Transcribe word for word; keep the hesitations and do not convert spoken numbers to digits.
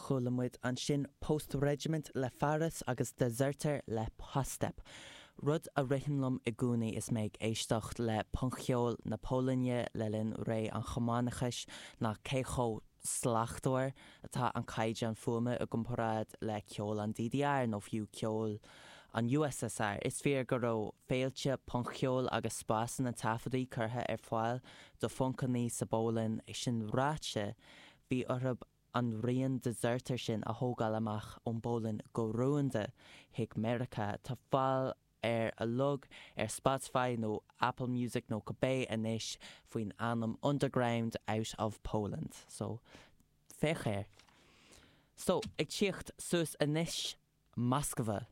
Chuala muid ansin Post Regiment le Faris agus Dezerter le Postep. Rud a ritheann liom i gcónaí is mé ag éisteacht le punc-cheol na Polainne le linn ré an chumannachais ná cé chomh slachtmhar atá an caighdeán fuaime i gcomparáid le ceol an D D R nó fiú ceol an U S S R. Is fíor go raibh féilte punc-cheoil agus spásanna taifeadtaí curtha ar fáil do phuncanna sa bPolainn. Sin ráite, bhí orthu an rian Dezerter sin a thógáil amach ón bPolainn go rúnda chuig Meiriceá. Tá fáil ar a log ar Spotify nó Apple Music nó cibé anois faoin ainm Underground Out of Poland. So féach air. So ag tíocht suas anois, Moskva.